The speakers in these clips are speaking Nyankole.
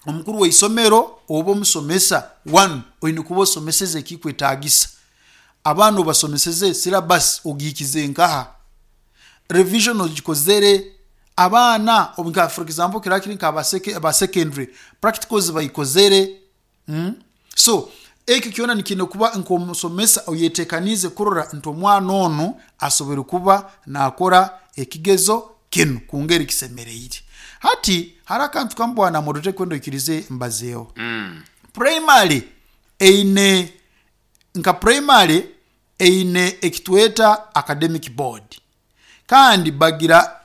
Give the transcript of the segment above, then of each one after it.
Omukuru w'eisomero oba omusomesa, one oine kuba osomeseze ekikwetagisa. Abaana obasomeseze syllabus ogihikize nkaha? Revision ogikozere? Abaana nka for example kiraba kiri nka aba secondary, practicals baikozere? So ekyo kyona nikiine kuba nk'omusomesa oyetekaniize kurora nti omwana onu asoboire kuba nakora ekigezo kinu kungeri kisemereire. Hati hariho akantu kamu bwana Moderator kwenda oikirize mbazeeho. Primary eine nka primary eine ekitweta academic board kandi bagira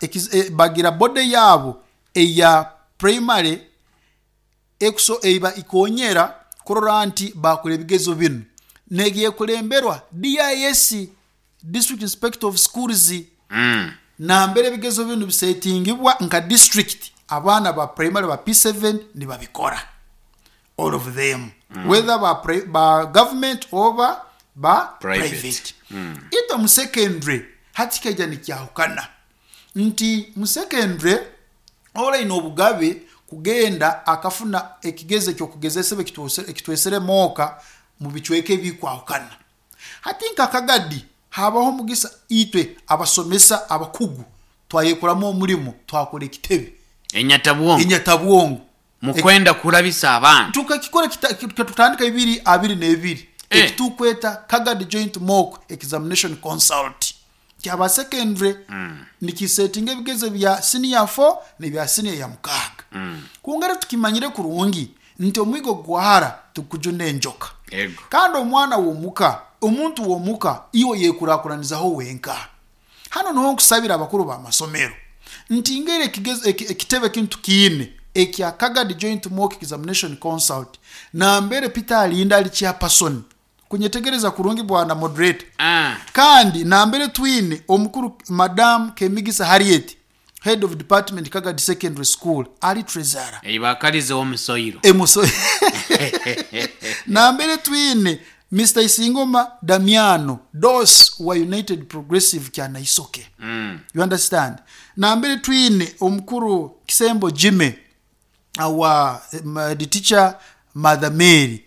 bagira body yaabo eya primary ekuso eiba ikonyera kurora nti bakora ebigezo binu nebyekulemberwa DIS, District Inspector of Schools, nambere ebigezo binu bisetingibwa nka district abaana ba primary ba P7 nibabikora all of them whether ba, ba government oba ba Private. private. Itwe mu secondary hati kikaija nikyahukana nti mu secondary Ora aine obugabe kugenda akafuna ekigezo eky'okugezesebwa ekitwesere mooka mu bicweka ebikwahukana. Hati nka Kagadi, habaho omugisa itwe abasomesa abakugu twayekuramu omulimo twakora ekitebe Enyatabwongo. Enyatabwongo. Mukwenda kurabisa abaana. Tukakikora tutandika ibiri abiri n'ebiri ekitukweta Kagadi Joint Mock Examination Consult. Kyaba secondary nikisetinga ebigezo bya siniya 4 n'ebya siniya ya mukaaga. Kwonka rero tukimanyire kurungi nti omwigo gwahara tigukujuna enjoka. Ego. Kandi omwana w'omuka, omuntu w'omuka iwe oyekurakuranizaho wenka. Hanu niho nkusabira abakuru b'amasomero nti ngeri ekigezo eki ekitebe kinu tukiine ekya Kagadi Joint Mock Examination Consult nambere Peter Alinda ali chairperson Kunyetegereza kurungi bwana moderator. Kandi nambere twine omukuru Madam Kemigisa Harriet, Head of Department Kagadi Secondary School, ari Treasurer. Ei bakarizeho omusoiro. Emuso Nambere twine Mister Isingoma Damiano, Dos wa United Progressive Kyanaisoke. You understand? Nambere twine omukuru Kisembo Jimmy, our the teacher Mother Mary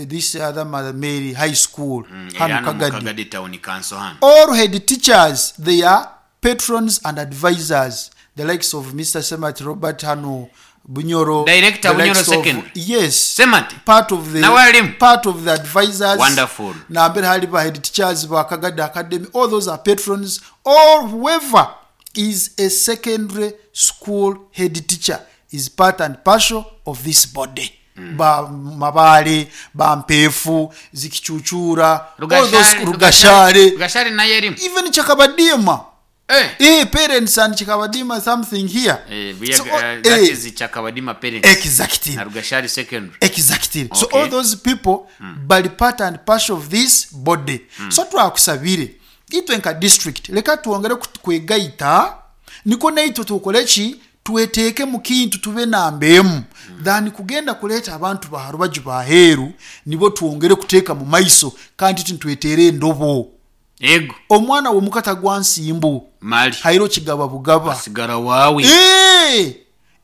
this other Mother Mary High School Eri hanu hanu omu Kagadi. Kagadi Town Council hanu. All head teachers they are patrons and advisors the likes of Mister Semati Robert hanu Bunyoro, Director the Bunyoro likes of Secondary. yes Semati part of the nawe arimu. part of the advisors Wonderful. nambere hali ba head teachers ba Kagadi Academy all those are patrons or whoever is a secondary school head teacher is part and partial of this body ba Mabaale, ba Mpeefu, Zikicucuura, all those Rugashare, Rugashare, Rugashare nayo erimu. even Chakabadiima. Eh. Eh, parents and Chakabadiima something here. Eh, we are, So, that eh, is Chakabadima parents. exactly. Na Rugashare secondary. Exactly. So Okay. all those people bali part and partial of this body. So twakusabire Itwe nka district leka twongere kwegaita nikwo naitwe tukore ki, tweteeke mu kintu tube namba emu than kugenda kureeta abantu ba rubaju b'aheeru nibo twongere kuteeka mu maiso kandi itwe nitweteera endobo. Ego. Omwana w'omuka tagwa nsimbu, Mali. haire okigaba bugaba. Asigara waawe. Eeh!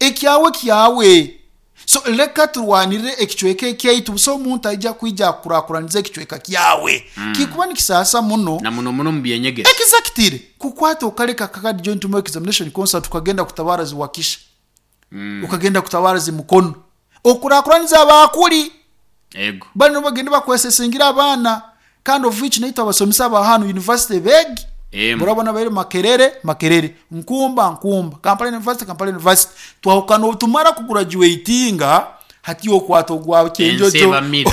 Ekyawe kyawe. So leka turwanirire ekicweka ekyaitu busa omuntu aija kwija akukurakuranize ekicweka kyawe. Kikuba nikisaasa muno. Na muno muno omu by'enyegesa. Exactly! Kukwata okareka akakadi Joint Mock Examination Concert okagenda kutabara zi Wakisha, okagenda kutabara zi Mukono, okurakuraniza abaakuri. Ego. Banu nibo bagenda bakwesesengire abaana kandi of which naitwe abasomesa aba hanu university beegi Emu. orabona baire Makerere, Makerere, Nkumba, Nkumba, Kampala University, Kampala University. Twahukana obu tumara kugurajuwetinga hati iwe okwata ogwa Ensi Kyenjojo. ebamira.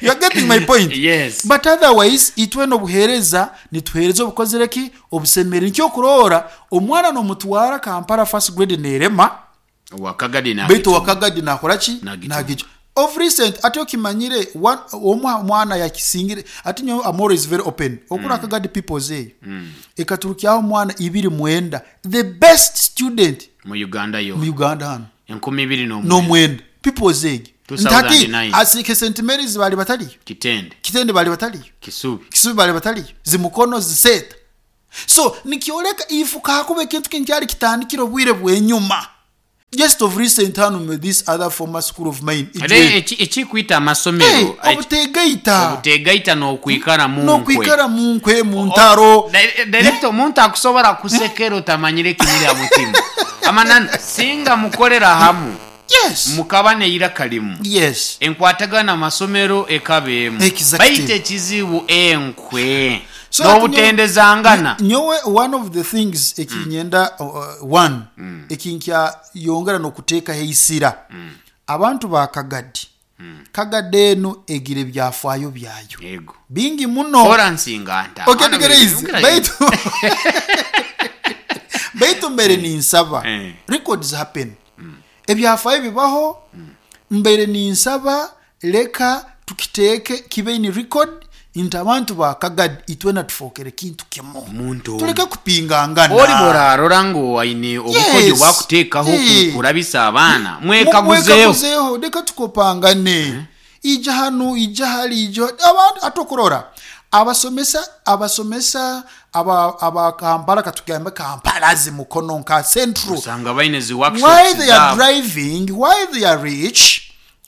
You are getting my point? Yes. But otherwise itwena obuheereza nituheereza obukozire ki? Obusemereire. Nikyo okuroora omwana nomutwara Kampala first grade nerema. Owa Kagadi Baitu owa naagicuma. Kagadi naakora ki? Naagicuma. Naagicuma. Of recent, ati okimanyire, one, omwe aha mwana yakisingire, ati nyowe am always very open. Okuri Kagadi People's eyo, ekaturukyaho omwana 29, the best student Mu Uganda mu yoona. Uganda hanu. 2009. N'omwenda. People's egyo. Nti hati, 2009. asiike St Mary's baali batariyo? Kitende. Kitende baali batariyo? Kisubi. Kisubi baali batariyo? Zimukono, Ziseeta. So, nikyoreka ifu kakuba ekintu kinu kyali kitandikire obwire bw'enyuma. Just of recent hanu mu this other former school of mine Ate Ijweri. eki ekikwita amasomero Hey, eki- obutegaita obutegaita n'okwikara mu nkwe. n'okwikara mu nkwe mu ntaro. Director, omuntu akusobora kusekera otamanyire ekimuri ha mutima. Amananu, singa mukorera hamu, Yes. mukaba neiraka limu. Yes. Enkwatagana amasomero ekaba emu. Exactly. Baitu ekizibu enkwe So ati n'obutendezangana. Nyowe one of the things ekinyenda one ekinkyayongera n'okuteekaho eisira abantu ba Kagadi. Kagadi enu egira ebyafaayo byayo Ego. bingi muno. Ora nsinganta. Okay, Mwana tugereize. ongera Baitu baitu mbaire ninsaba Eh. records happen ebyafaayo bibaho mbaire ninsaba leka tukiteeke kibe in record nti abantu ba Kagadi itwena tufookere kintu kimu Omuntu omu. tuleke kupingangana. Ori bworarora ngu aine obukodyo Yes. bwakuteekaho Eh. kurabisa abaana, mwekaguzeho. Mwekaguzeho, leka tukopangane ija hanu ija hali ija abantu atokurora abasomesa abasomesa aba, aba Kampala katugambe Kampala zi Mukono nka Central Osanga baine zi why workshops they are zaabo. driving, why they are rich,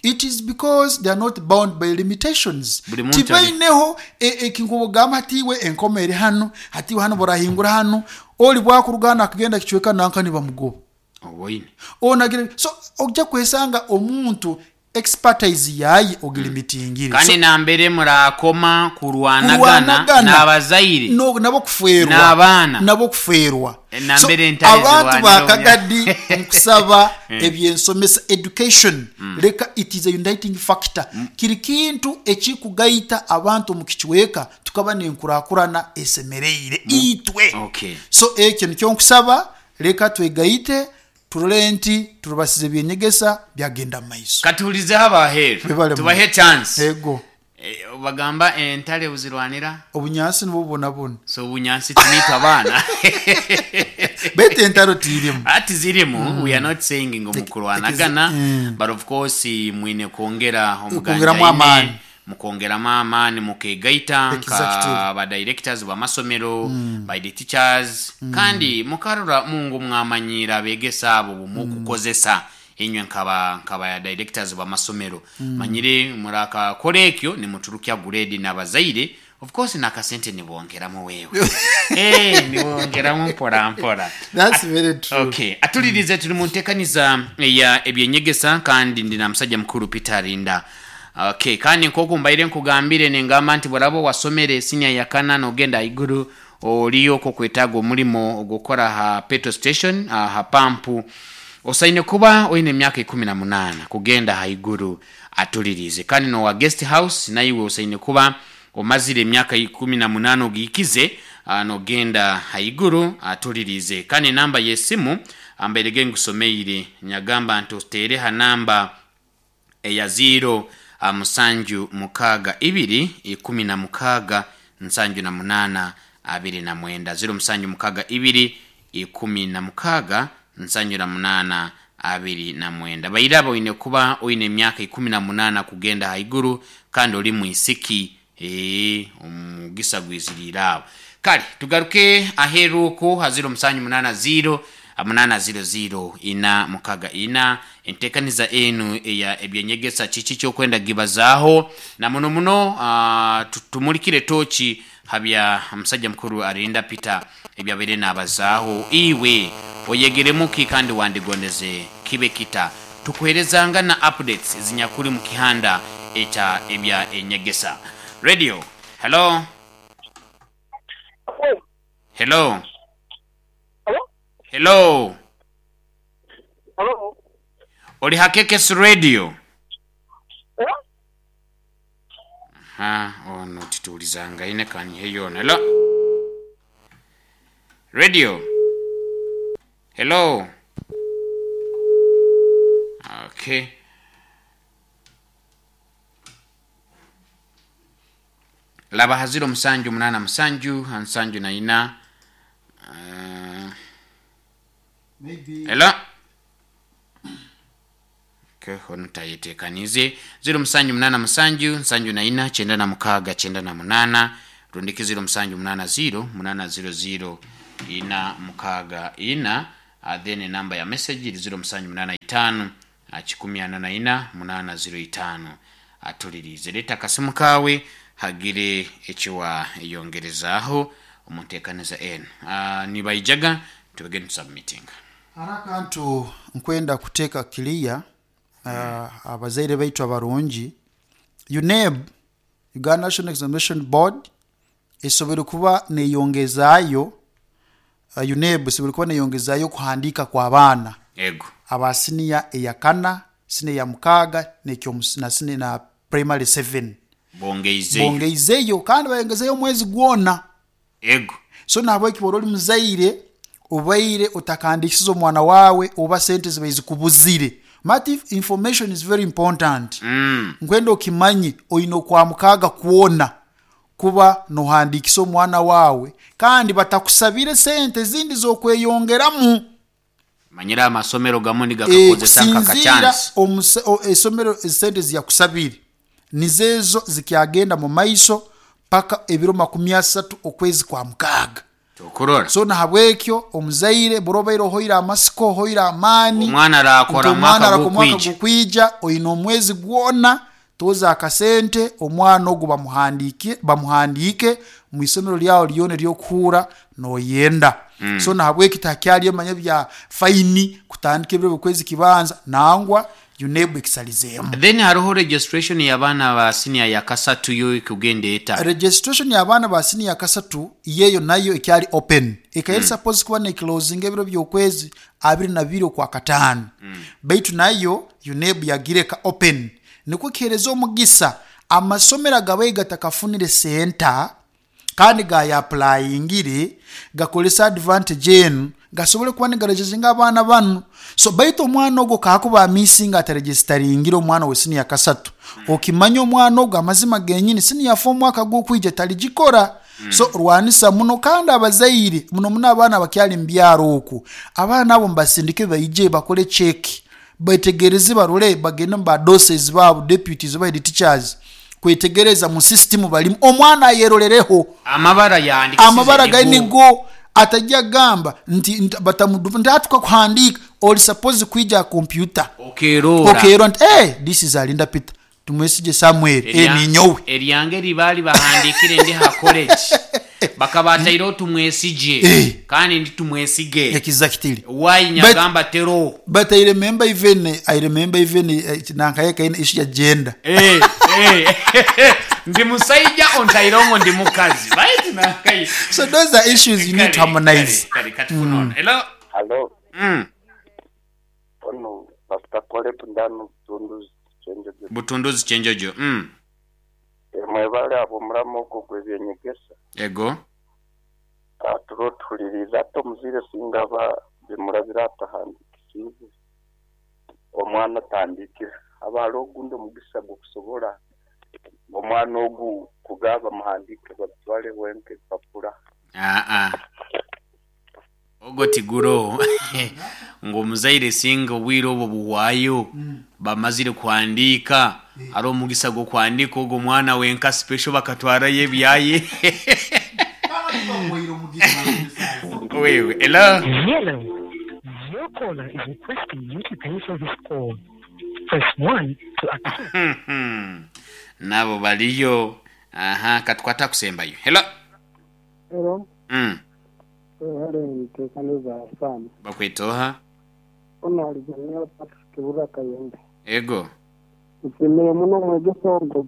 it is because they are not bound by limitations. Buli muntu ali- Tibaineho ekinkubugamba hatiwe enkoma eri hanu hatiwe hanu borahingura hanu oli bwakuruga hanu akagenda kicweka nanka nibamugoba Oboine. onagira so ojja kwesanga omuntu expertise yaye ogilimitingire. Kandi So, nambere murakoma kurwanagana kurwanagana n'abazaire no, nabo kufeerwa n'abaana. nabo kufeerwa. Nambere So, entare abantu zirwanira ba omunya- Kagadi nkusaba ebyensomesa education leka it is a uniting factor kiri kintu ekikugaita abantu omu kicweka tukaba nenkurakurana esemereire itwe. Okay. So ekyo nikyo nkusaba leka twegaite turole nti turubasize ebyenyegesa byagenda mu maiso. Katuhulizeho abaheeru Webale tubahe chance. Ego. Bagamba entare buzirwanira obunyansi nibwo bubonabona. So obunyansi tuniitwe abaana. Baitu entaro tirimu. Ati zirimu, we are not saying ngu mukurwanagana, but of course mwine kwongera Kwongeramu amaani. Mukongeramu amaani mukegaita nka Exactly. ba directors b'amasomero, by the teachers, kandi mukarora mungu mwamanyira abegesa abo bumukukozesa inywe nkaba nkaba directors b'amasomero manyire murakakora ekyo nimuturukya grade n'abazaire of course nakasente nibongeramu wewe nibongeramu mpora mpora. That's very true. Okay, atulirize turi mu ntekaniza ya ebyenyegesa kandi ndi na musajja mukuru Peter Arinda. Okay, kandi nkoku mbaire nkugambire nengamba nti borabo wasomere senior ya kana nogenda iguru oliyo ko kwetaga omulimo ogukora ha petrol station ha pampu osaine kuba oine emyaka 18 kugenda haiguru atulirize. Kandi nowa guest house naiwe osaine kuba omazire emyaka 18 ogiikize nogenda haiguru atulirize. Kandi namba y'esimu ambairege ngusomeire nyagamba nti oteere ha namba eya 0 762 16 78 29 0 762 16 78 29. Bairaba oine kuba oine emyaka 18 kugenda haiguru kandi oli mwisiki omugisa gwiziriire abo. Kale tugaruke aheeru oku ha 0780 800 464 entekaniza enu eya ebyenyegesa kiki kyokwenda gibazaaho na muno muno tumurikire toki habya musajja mukuru Arinda Peter ebyabaire nabazaaho iwe oyegeremuki kandi wandigondeze kibe kita tukuherezanga na updates zinyakuri mu kihanda ekya ebya enyegesa. Radio, hello. Hello. Hello? Hello. Hello? Oli Hakekes Radio. Eh? Ha, ono tituulizanga ine kanyihe yona. Hello. Radio. Hello. Okay. Laba haziro 787 74. Maybe. Hello. Okay, ono tayetekanize 0787 74 96 98 rundiki 0780 800 464. Then enamba ya message eri 0785 144 805. Atuliriize reeta akasimu kaawe hagire eki waayongerezaaho omu nteekaniza enu. Nibaijaga tubege nitusubmitinga. Hariho akantu nkwenda kuteeka clear abazaire baitu abarungi, UNEB, Uganda National Examination Board, esoboire kuba neyongezaayo, UNEB esoboire kuba neyongezaayo okuhandiika kw'abaana Ego. aba siniya eyakana, siniya eyamukaaga na na primary seven. Bongeizeyo. Bongeizeyo kandi bayongezeyo omwezi gwona. Ego. So nahabweki bw'oba ori muzaire obaire otakahandiikisize omwana waawe oba sente zibaire zikubuzire, mati information is very important. Nkwenda okimanye oine okwamukaaga kwona kuba nohandiikisa omwana waawe kandi batakusabire sente ezindi z'okweyongeramu. Manyire amasomero gamwe nigakakozesa nka Kusinziira kachansi. eisomero esente eziyakusabire nizo ezo zikyagenda mu maiso paka ebiro 30 okwezi kwa mukaaga. Tokurora. So nahabwekyo omuzaire buri obaire ohoire amasiko, ohoire amaani Omwana nti arakora omwana omwaka arakora omwaka gukwija. gukwija, oine omwezi gwona tooza akasente omwana ogu bamuhandiike bamuhandiike omu isomero ryawe ryona ery'okuhuura nooyenda. So nahabweki tihakyariyo manya ebya fayini kutandika ebiro by'okwezi kibanza nangwa UNEB ekisalizeemu. Then hariho registration y'abaana ba senior ya kasatu yo ekugenda eta? Registration y'abaana ba senior ya kasatu yo eyo nayo ekyari open. Ekaba eri supposed kuba neclosinga ebiro by'okwezi 22 Okwakataano baitu nayo UNEB yagireka open nikwo kihereza omugisa amasomero agabaire gatakafunire senta kandi gaayapurayingire gakorese advantage enu gasobole kuba nigarejezinga abaana banu. So baitu omwana ogwo ku akuba amisinga atarejesitaringire omwana we siniya kasatu, okimanye omwana ogwo amazima genyini siniya four omwaka gukwija tarigikora. So rwanisa muno kandi abazaire muno muno abaana abakyari omu byaro okwo, abaana abo mubasindike baije bakore check Betegereze barole bagende mu ba doses baabo, deputies oba head teachers kwetegereza mu system barimu omwana ayerorereho. Amabara yahandikisize Amabara gari nigo. nigo atajja kugamba nti batamudupa nti hati tukakuhandiika ori supposed kwija aha computer Okeroora. okeroora nti eh this is Arinda Peter Tumwesigye Samuel, Erya, ninyowe. Eryange eri baali bahandiikire ndi ha college bakaba bataireho Tumwesigye Eh. kandi ndi Tumwesige. Exactly. Why But nyagamba tero? but I remember even I remember even eh, nankaye kaine issue ya gender. Eh, eh, ndi musaija ontaireho ngu ndi mukazi. Baitu nankaye. So those are issues you need to Kare, kare, harmonize. kare katufune ono. Hello? Halo, Onu Pastor Caleb Ndanu Butunduzi Kyenjojo. Butunduzi Kyenjojo. Mwebale ahabw'omurama ogu ogw'eby'enyegesa. Ego. Turiho tuhuririize hati omuzaire singa aba bimurabire atahandiikisiibwe, omwana atahandiikire, haba hariho ogundi omugisa gw'okusobora omwana ogu kugaba bamuhandiike babitware wenka ebipapura? Aa. Ogwo tiguroho ngu omuzaire singa obwire obwo buhwayo bamazire kuhandiika hariho omugisa gw'okuhandiika ogwo mwana wenka special bakatwarayo ebyaye. Wewe hello. Hello. Your caller is requesting you to pay for this call. Press 1 to accept. Nabo bariyo. Aha katukwate akusembayo. Hello. Hello. Webale nteekaniza Sam. Bakweta oha? Ono ali Daniel Patrick Burra Kayembe. Ego. Nsiimire muno omwegesa ogwo.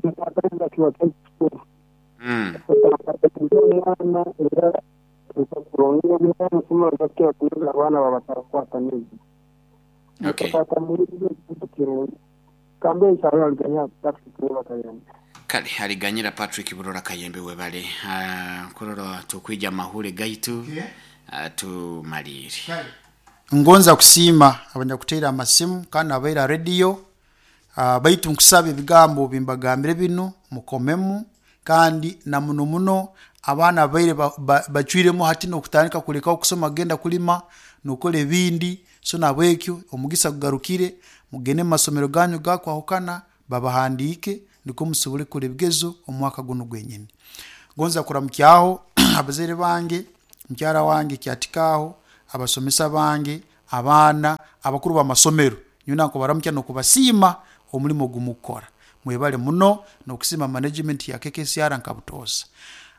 Nkwataniza kiba kintu kikuru. Otakwataniza omwana era otakurondera ebintu bakira kunoga abaana babatarakwataniza. Okay. Mutakwataniza kintu kirungi. Kambe nsabe aliganyira Patrick Burra Kayembe. Kale aliganyira Patrick Burora Kayembe webale. Kurora tukwija mahure gaitu. Okay. Tumalire. Ngonza kusiima abanyakuteire amasimu kandi abaire aha rediyo baitu nkusaba ebigambo bimbagambire binu mukomemu kandi na muno muno abaana abaire bacwiremu hati n'okutandika kulekaho kusoma kugenda kulima n'okukora ebindi so nahabwekyo omugisa gugarukire mugende omu masomero ganyu gakwahukana babahandiike nikwo musobole kukora ebigezo omwaka gunu gwenyini. Ngonza kuramukyaho abazaire bange, mukyara wange Kyatikaaho, Abasomesa bange, abaana, abakuru b'amasomero, nyowe nakubaramukya n'okubasiima omurimo ogu mukukora. Mwebale muno n'okusiima management ya KKCR nka butoosa.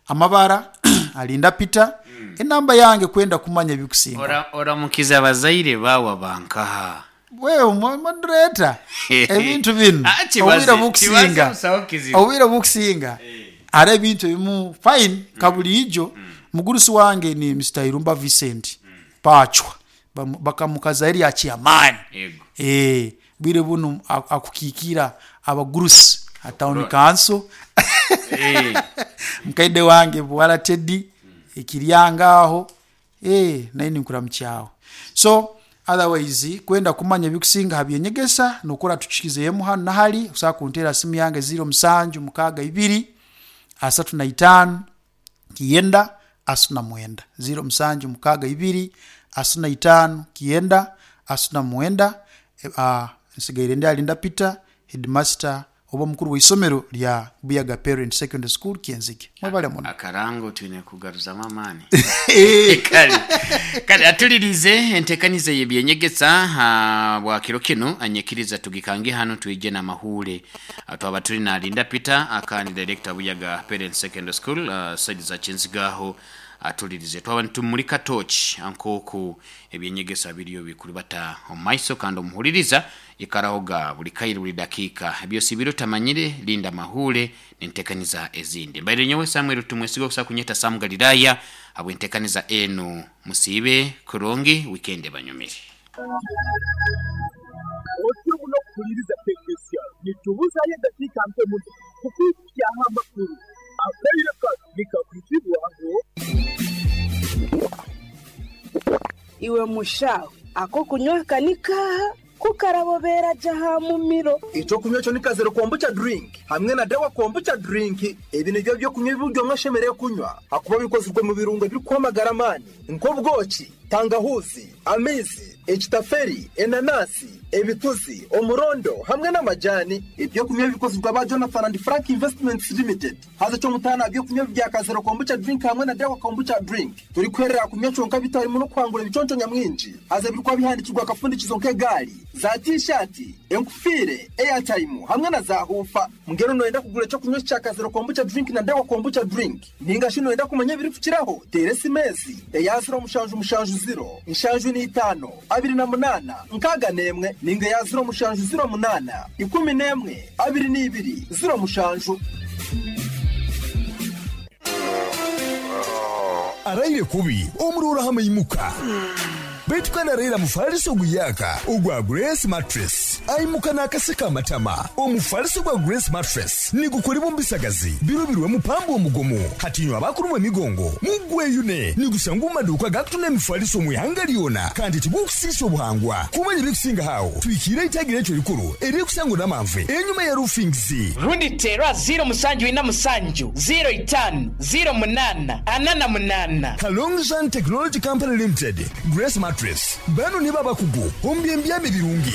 Amabara, Alinda Peter, enamba yange kwenda kumanya ebikusingaho. Ora oramukize abazaire baawe abankaha? Wewe moderator, ebintu binu Ah, kibaze, obwire obukusinga, kibaze busaho kizibu. obwire obukusinga hariho ebintu ebimu fine nka buriijo mugurusi wange ni Mister Irumba Vincent Pachwa bakamukazaho erya chairman. Yego. Eh, bwire bunu akukiikira abagurusi ha town council. Mukaide wange Buwara Teddy Ekiryanga aho. Eeh naye ninkuramukyaho. So otherwise kwenda kumanya ebikusinga aha byenyegesa nokora tukikizeemu hanu nahari osobola kunteera simu yange ziiro musanju mukaaga ibiri asatu na itaano kyenda asatu na mwenda ziiro musanju mukaaga ibiri asatu na itaano kyenda asatu na mwenda nsigaire ndi Alinda Peter headmaster oba omukuru w'eisomero rya Buyaga Parent Secondary School Kyenzige. Mwebale muno. Akarango twine kugaruzamu amaani. Kale kale atulirize entekaniza y'ebyenyegesa bwa kiro kinu anyikiriza tugikange hanu twije n'amahuure. Twaba turi na Linda Peter akandi director Buyaga Parent Secondary School side za Kyenzige aho atulirize. Twaba nitumurika torch nk'oku ebyenyegesa biriyo bikuribata omu maiso kandi omuhuririza Ikarahoga buri kaire buri dakiika. Eby'osiibire otamanyire, linda amahuure n'enteekaniza ezindi. Mbaire nyowe Samuel Tumwesiga okusobola kunyeta Sam Galilaya habw'enteekaniza enu. Musiibe kurungi, wiikendi ebanyumire. Otyo muno kuhuliriza KKCR. Nitubuzayo edakiika nke muno kukwikukyaho amakuru. Akaire kanu nikakwizibwaho. Iwe mushaho, ak'okunywa aka ni kaaha? Ku karabobeera gye aha mumiro. Eky'okunywa ekyo ni Kazero Kombucha Drink hamwe na Dawa Kombucha Drink. Ebi nibyo by'okunywa ebi buri omwe ashemereire kunywa ahakuba bikozirwe mu birungo ebirikuha amagara amaani nk'obwoki, tangahuuzi, amaizi, ekitaferi, enanasi, ebituzi, omurondo hamwe n'amajani. Eby'okunywa ebi bikozirwe aba Jonathan and Frank Investments Limited. Haza eky'omutaano aha by'okunywa ebi bya Kazero Kombucha Drink hamwe na Dawa Kombucha Drink, torikuherera aha kunywa kyonka beitu harimu n'okuhangura ebiconco nyamwingi. Haza ebirikuba bihandiikirwe aha kafundikizo nk'egaari, za tiishaati, enkufiire, eyataimu hamwe na zaahuufa. Mbwenu nooyenda kugura eky'okunywa eki kya Kazero Kombucha Drink na Dawa Kombucha Drink? Nainga shi nooyenda kumanya ebirikukiraho? Teera esimu ezi, eya ziro mushanju mushanju ziro, nshanju n'eitaano, abiri na munaana, nkaaga n'emwe, nainga eya ziro mushanju ziro munaana, ikumi n'emwe, abiri n'ibiri, ziro mushanju. Araire kubi omuroora aha maimuka. Beitu kandi araire aha mufariso oguyaaka ogwa Grace Mattress. Aimuka n'akaseko amatama. Omufariso gwa Grace Mattress nigukoribwa omu bisagazi birobirwemu pamba omugumu. Hati inywe abakurumwa emigongo, mugweyune! Nigushangwa omu maduuka agakutunda emifariso omu ihanga ryona kandi tigukusiisa obuhangwa. Kumanya ebirikusingaho aho, twikiire eitagi ryaitu erikuru eririkusangwa Namanve enyima ya Roofings. Rundi teera ziiro musanju ina musanju, ziiro itaano, ziiro munaana, ana na munaana. Kalongzhan Technology Company Limited, Grace Mattress, banu nibo abakugu omu by'embyama ebirungi.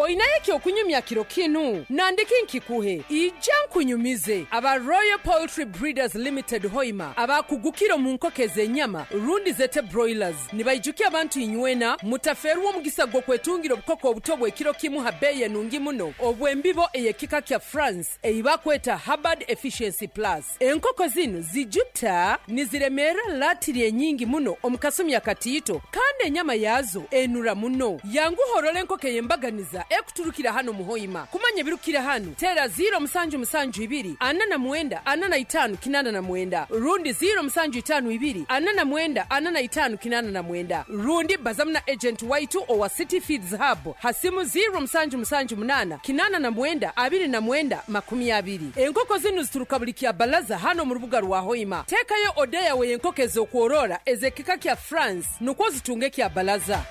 Oinayo eky'okunyumya kiro kinu? Nandiki nkikuhe? Ija nkunyumize. Aba Royal Poultry Breeders Limited Hoima abakugukire omu nkoko ez'enyama rundi zete broilers nibaijukya abantu inywena mutafeerwa omugisa gw'okwetungira obukoko obuto obw'ekiro kimu ha beeyi enungi muno obw'embibo ey'ekika kya France ei bakweta Hubbard Efficiency Plus. Enkoko zinu zijuta niziremeera latiri enyingi muno omu kasumi akatiito kandi enyama yaazo enura muno. Yanguha orole enkoko ey'embaganiza ekuturukira hanu omu Hoima. Kumanya ebirukukira hanu, teera ziiro musanju musanju ibiri ana na mwenda ana na itaanu kinaana na mwenda rundi ziiro musanju itaanu ibiri ana na mwenda ana na itaanu kinaana na mwenda rundi bazamu na ejenti waitu owa City Feeds Hub ha simu ziiro musanju musanju munaana kinaana na mwenda 29 20. Enkoko zinu zituruka buri Kyabalaza hanu omu rubuga rwa Hoima. Teekayo oda yawe y'enkoko ez'okworora ez'ekika kya France nukwo ozitunge Kyabalaza.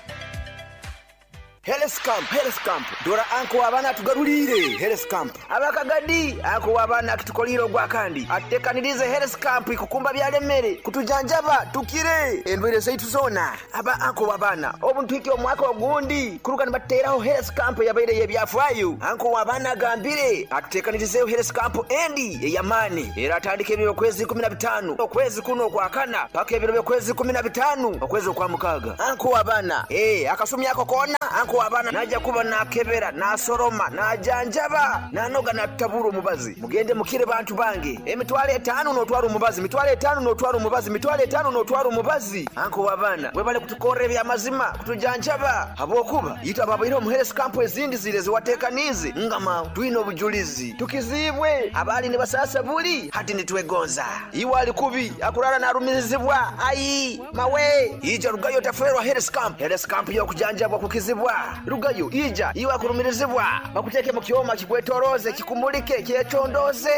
Health. Health Camp, Health Camp, Dora anko w'abaana atugaruliire Health Camp. Abakagadi, anko w'abaana akitukoliire ogwakandi atutekaniriize Health Camp ikukumba byalemere kutujanjaba tukire endwaire zaitu zoona. Aba anko w'abaana obu nituhikya omwaka ogundi kuruga nibatuteraho Health Camp eyabaire ey'ebyafaayo. Anko w'abaana agambire atutekanirizeeho Health Camp endi ey'amaani eratandika ebiro by'okwezi 15 okwezi kunu okwakana paka ebiro by'okwezi 15 okwezi okwamukaaga. Anko w'abaana, Ee, akasumi ako koona anko w'abaana naija kuba naakebera, naasoroma, naajanjaba, naanoga naatutabura omubazi. Mugende mukire bantu bange. Emitwalo etaanu n'otwara omubazi, mitwalo etaanu n'otwara omubazi, mitwalo etaanu n'otwara omubazi. Anko w'abaana, webale kutukorra eby'amazima, kutujanjaba, habw'okuba itwe ababaireho omu health camp ezindi ziri ezi wateekaniize, ngama twine obujulizi. Tukiziibwe abaali nibasaasa buli hati nitwegonza. Iwe ali kubi akuraara narumirizibwa, ayi mawe! Ija rugayo otaferwa Health Camp. Health Camp y'okujanjabwa kukizibwa. Rugayo, ija iwe akurumirizibwa, bakuteeke mu kyoma kikwetoroze, kikumulike, kyecondooze.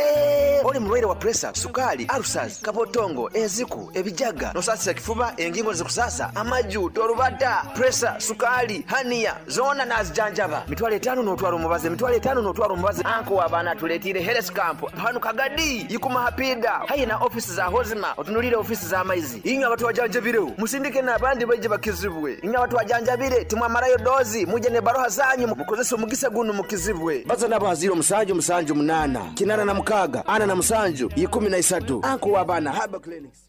Oli mulwaire wa puresa, sukaali, alusazi, kabotongo, enziku, ebijaga, nosasisa ekifuba, engingo nizikusasa, amaju, torubata, puresa, sukaali, haniya, Zoona naazijanjaba. Mitwalo etaanu n'otwara omubazi, emitwalo etaanu n'otwara omubazi. Anko w'abaana atuleeteire Health Camp hanu Kagadi, Ikuma ha piida haihi na ofiisi za Hozima otunuliire ofiisi z'amaizi. Inywe abatwajanjabireho musindike n'abandi baije bakizibwe. Inywe abatwajanjabire timwamarayo doozi, mwije n'ebaruha zaanyu mukozese omugisa gunu mukizibwe. Baza nabo ha ziiro musanju musanju munaana, kinaana na mukaaga, ana na musanju, ikumi na isatu. Anko w'abaana Herbal Clinics.